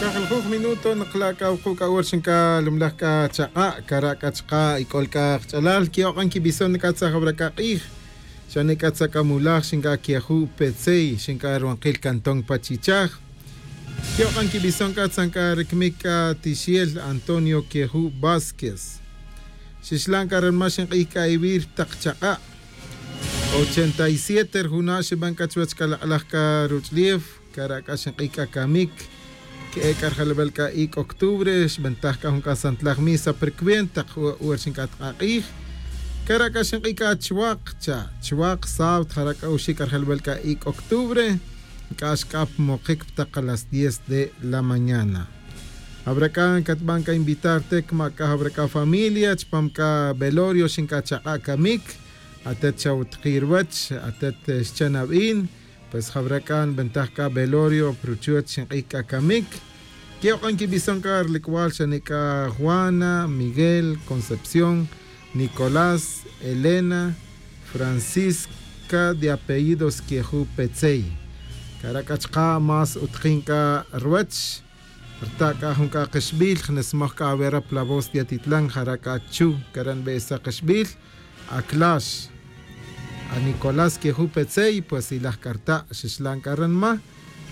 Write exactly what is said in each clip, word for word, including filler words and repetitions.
Jujuj minuto nakla' c'a wuku' c'a hora xin c'a lumlaj c'a chak'a' cara' c'a chaka' y c'ol c'a kach'alal que'ok'an quibison c'a tzaj awra c'a k'ij. Xane c'a tzakamulaj xin c'a queju' petzey xin c'a ruwankil cantón pa chichaj. Que'ok'an quibison c'a tzan c'a ricmic c'a tixiel antonio queju' vásquez. Xixlan c'a ranma' xink'ij c'a iwir tak chak'a'. Ochenta y siete rijuna' xiban c'a chuwech c'a lak'laj c'a ruch'lef cara' c'a xink'ij c'a camic. Que'e' c'a rijelbel c'a ic' octubre xbentaj c'a jun c'a santlaj misa pa ricuenta tak hora xinc'at k'a k'ij. Cara' c'a xink'ij c'a chuwak cha chuwak sábado jara' c'a oxi' c'a rijelbel c'a ic' octubre. Nc'ax c'a pa mokic pa tak a las diez de la mañana. Jawra c'a catban c'a invitar tek ma c'a jawra c'a familia chupam c'a velorio xinc'a chak'a' camic. Atet xa utki' ruwech atet xchan abin. Pues jawra c'a nbentaj c'a velorio pa ruchuwech xink'ij c'a camic. Que'ok'an quibison c'a rilic'wal xane c'a juana, miguel, concepción, nicolás, elena, francisca de apellidos queju' petzey. Cara' c'a chaka' más utkin c'a ruwech. Rta' c'a jun c'a kixbil jnismoj c'a awera pa la voz de atitlan jara' c'a chu cara' nbe'esa kixbil. Aclax anicolás queju' petzey pues ilaj c'a rta' xixlan c'a ranma.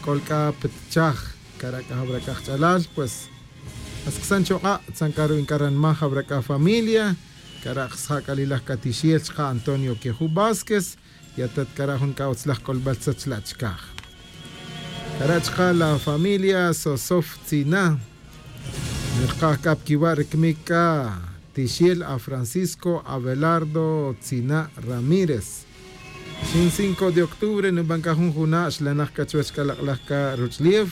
C'ol c'a pa tichaj cara' c'a jawra c'a kach'alal pues. Ask'san chok'a' tzan c'a ru'in c'a ranma jawra c'a familia. Cara' kxsja' c'a lilaj c'a tixiel chaka' antonio queju' vásquez. Y atet cara' jun c'a utzlaj c'olbal tzet chla' chicaj. Cara' chaka' la familia sosof tzina. Nirkaj c'a pa quiwa' ricmic c'a tixiel a francisco abelardo tzina' ramírez. Xin cinco de octubre nuban c'a jun juna' xlanak c'a chuwech c'a lak'laj c'a ruch'lef.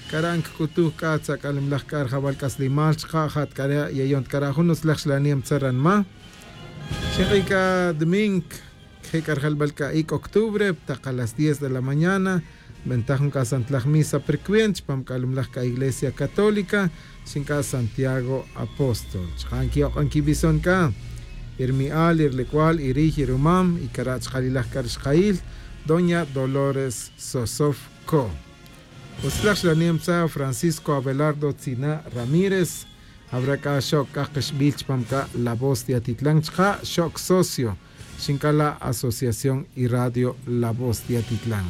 Cara' nc'utuj c'a tzak'alimlaj c'a rijawal c'a slimal chaka' ja' ta cara' yayon ta cara' jun utzlaj xlanem tzaranma. Xink'ij c'a domingo quije' c'a rijelbel c'a ic' octubre pa tak a las diez de la mañana. Nbentaj jun c'a santlaj misa pa ricuenta chupam c'a lumlaj c'a iglesia católica. Xinc'a santiago apóstol chaka' nquiok'an quibison c'a irmi'al irlic'wal iriy irumam y cara' chaka' lilaj c'a rixkayil doña dolores sosof co. Utzlaj xlanem tza francisco abelardo tzina' ramírez. Jawra c'a xoc c'a kixbil chupam c'a la voz de atitlan chaka' xoc socio. Xinc'a la asociación y radio la voz de atitlan.